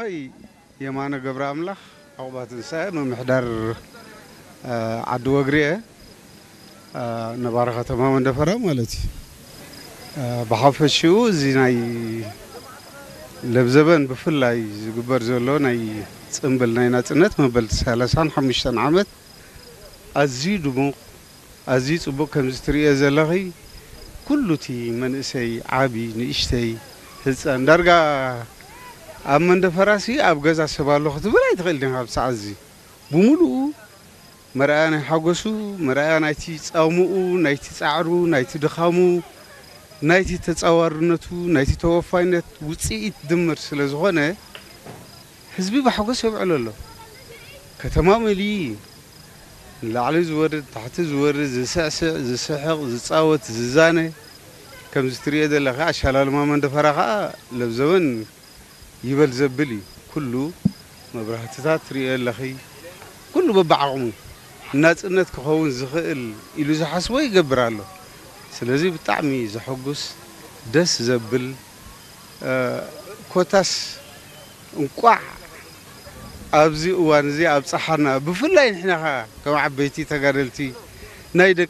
ኣይ የማነ ገብረ ኣምላኽ፣ ዕቑባ ትንሳኤ፣ ምምሕዳር፣ እ፣ ዓዲ ወግሪ'የ፣ እ፣ ነባሪ ከተማ መንደፈራ ማለት እዩ። እ፣ ብሓፈሽኡ እዚ ናይ ለብዘበን ብፍላይ ዝግበር ዘሎ ናይ ጽምብል ናይ ናጽነት መበል ሰላሳን ሓሙሽተን ዓመት ኣዝዩ ድሙቕ፣ ኣዝዩ ጽቡቕ። ከምዚ ትርእዮ ዘለኺ ኩሉ እቲ መንእሰይ፣ ዓቢ፣ ንእሽተይ፣ ህጻን፣ ዳርጋ ኣብ መንደፈራሲ ኣብ ገዛ ሰብ ኣሎ ክትብል ኣይትኽእልን ኢኻ። ኣብ ሰዓት እዚ ብምሉኡ መርኣያ ናይ ሓጎሱ፣ መርኣያ ናይቲ ጻሙኡ፣ ናይቲ ጻዕሩ፣ ናይቲ ድኻሙ፣ ናይቲ ተጻዋርነቱ፣ ናይቲ ተወፋይነት ውጽኢት ድምር ስለ ዝኾነ፣ ህዝቢ ብሓጎስ የብዕሎ ኣሎ። ከተማ መሊኡ እዩ። ንላዕሊ ዝወርድ፣ ታሕቲ ዝወርድ፣ ዝስዕስዕ፣ ዝስሕቕ፣ ዝጻወት፣ ዝዛነ፣ ከምዚ ትርእዮ ዘለኻ ኣሻላልማ መንደፈራ ኸኣ ለብዘበን ይበል ዘብል እዩ። ኩሉ መብራህትታት ትርእዮ ኣለኺ። ኩሉ በብዓቕሙ ናጽነት ክኸውን ዝኽእል ኢሉ ዝሓስቦ ይገብር ኣሎ። ስለዚ ብጣዕሚ ዘሐጉስ፣ ደስ ዘብል፣ እ፣ ኮታስ እንቋዕ ኣብዚ እዋን እዚ ኣብጽሓና። ብፍላይ ንሕና ኸኣ ከም ዓበይቲ ተጋደልቲ ናይ ደቂ